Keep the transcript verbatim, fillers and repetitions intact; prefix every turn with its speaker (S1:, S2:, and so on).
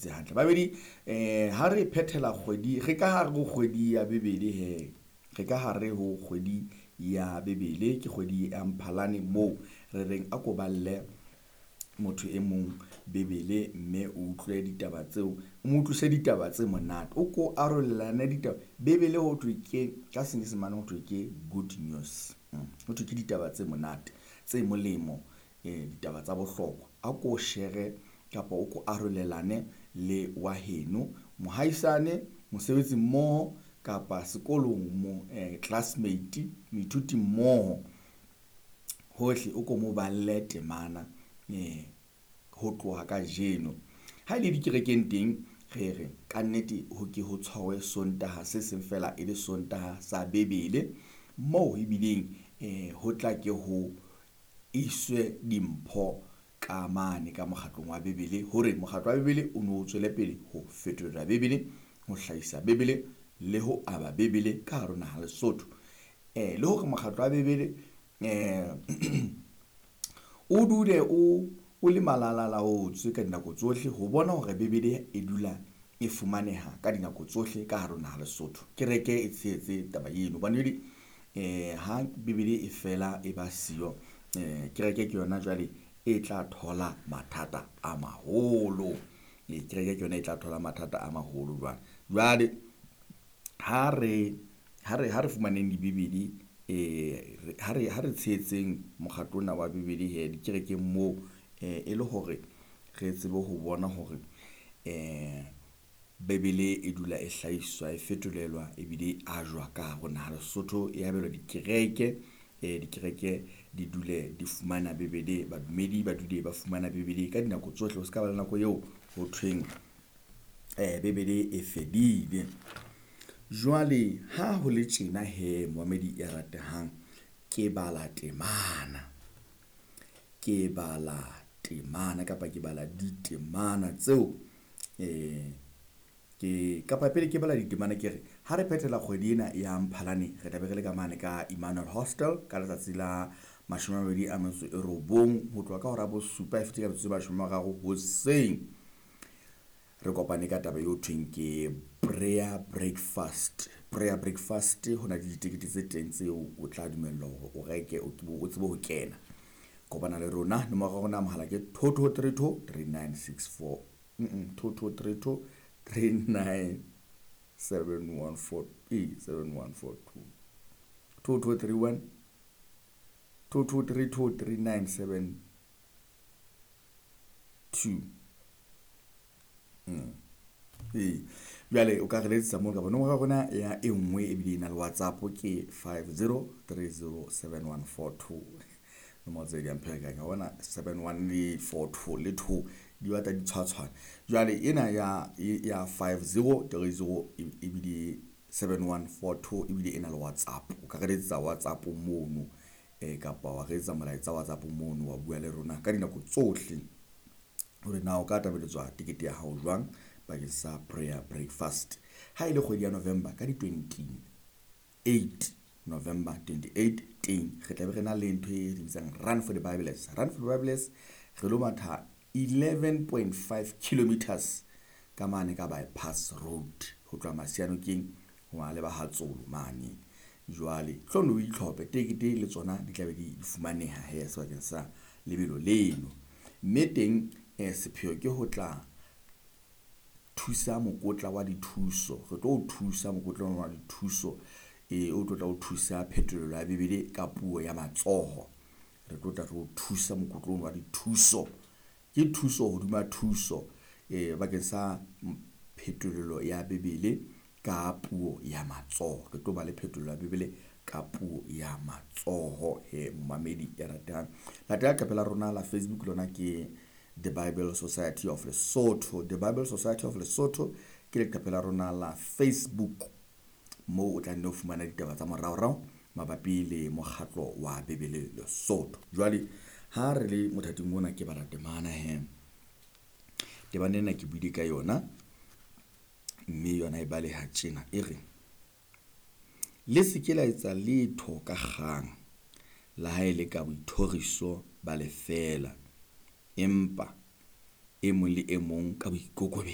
S1: utlwisisitse hantle. Babedi eh ha re phethela kgwedi, re ka hare ho kgwedi ya Bibele he. Re ka hare ho kgwedi ya Bibele, ke kgwedi ya Mphalane moo re reng a ko balle motho e mong Bibele mme o utlwe ditaba tseo, o mo utlwise ditaba tse monate. O ko arolelane ditaba. Bibele ho thwe ke ka Senyesemane ho thwe ke good news. Ho thwe ke ditaba tse monate, tse molemo, eh ditaba tsa bohlokwa. A ko share kapa o ko arolelane le wa heno, mohaisane, mosebetsi mmoho kapa sekolong mo eh classmate, moithuti mmoho. Hohle o ko mo balle temana eh ho tloha kajeno. Ha ele dikerekeng teng re re kannete ho ke ho tshwarwe Sontaha se seng fela e le Sontaha sa Bibele moo ebileng eh ho tla ke ho iswe dimpho ka mane ka mokgatlong wa Bibele hore mokgatlo wa Bibele o no tswele pele ho fetolela Bibele, ho hlahisa Bibele le ho aba Bibele ka hare ho naha Lesotho. Eh le hore mokgatlo wa Bibele eh o dule o o le malalalaotswe ka dinako tsohle ho bona hore Bibele e dula e fumaneha ka dinako tsohle ka hare ho naha Lesotho. Kereke e tshehetse taba eno hobane jwale eh ha Bibele e fela e ba siyo, eh kereke ke yona jwale e tla thola mathata a maholo. E kereke ke yona e tla thola mathata a maholo jwale. Jwale ha re ha re ha re fumaneng dibibele eh ha re ha re tshehetseng mokgatlo ona wa Bibele he dikerekeng moo eh e le hore re tsebe ho bona hore eh Bibele e dula e hlahiswa, e fetolelwa ebile e ajwa ka hare ho naha Lesotho, e abelwa dikereke. Eh dikereke di dule di fumana Bibele, badumedi ba dule ba fumana Bibele ka dinako tsohle. Ho se ka ba le nako eo ho thweng eh Bibele e fedile. Jwale ha ho le tjena he momamedi ya ratehang, ke bala temana. Ke bala temana kapa ke bala ditemana tseo eh ke kapa pele ke bala ditemana ke re ha re phethela kgwedi ena ya Mphalane re tla be re le ka mane ka Emmanuel Hostel ka letsatsi la mashome a mabedi a metso e robong ho tloha ka hora ya bosupa e fetile ka metsotso e mashome a mararo hoseng. Re kopane ka taba eo thweng ke prayer breakfast. Prayer breakfast ho na le ditekete tse teng tseo o tla dumellwa hore o reke o tsebe ho kena. Kopana le rona, nomoro ya rona ya mohala ke two two three two three nine six four two two three two three nine seven one four e seven one four two two two three one two two three two three nine seven two. Mm. Ee, jwale o ka re letsetsa moo kapa nomoro ya rona ya e nngwe ebile e na le WhatsApp ke five zero three zero seven one four two. Nomoro tse di a mpherekanya wa bona seven one le four two le two di batla di tshwatshwana. Jwale ena ya ya five zero three zero ebile seven one four two ebile e na le WhatsApp. O ka re letsetsa WhatsApp mono eh kapa wa re etsa molaetsa WhatsApp mono wa bua le rona ka dinako tsohle hore na o ka tabeletswa tekete ya hao jwang bakeng sa prayer breakfast. Ha e le kgwedi ya November ka di twenty-eight November twenty-eight teng re tla be re na le ntho e re bitsang Run for the Bibles. Run for the Bibles re lo matha eleven point five kilometers ka mane ka bypass road ho tloha Masianokeng ho ya leba Hatsolo mane. Jwale tlo no itlhophe tekete le tsona di tla be di fumaneha he sebakeng sa lebelo leno. Mme teng eh sepheo ke ho tla thusa mokotla wa dithuso. Re tlo o thusa mokotla wa dithuso e o tlo tla o thusa phetolelo ya Bibele ka puo ya matsoho. Re tlo tla re o thusa mokotla wa dithuso. Ke thuso hodima thuso eh bakeng sa phetolelo ya Bibele ka puo ya matsoho. Re tlo ba le phetolelo ya Bibele ka puo ya matsoho he momamedi ya ratang. Latela leqephe la rona la Facebook lona ke The Bible Society of Lesotho. The Bible Society of Lesotho ke leqephe la rona la Facebook moo o tla nne o fumana ditaba tsa moraorao mabapi le mokgatlo wa Bibele Lesotho. Jwale ha re le mothating ona ke bala temana he. Temana ena ke buile ka yona mme yona e baleha tjena e re: Le se ke la etsa letho ka kgang, le ha e le ka boithoriso ba lefeela, empa e mong le e mong ka boikokobetso.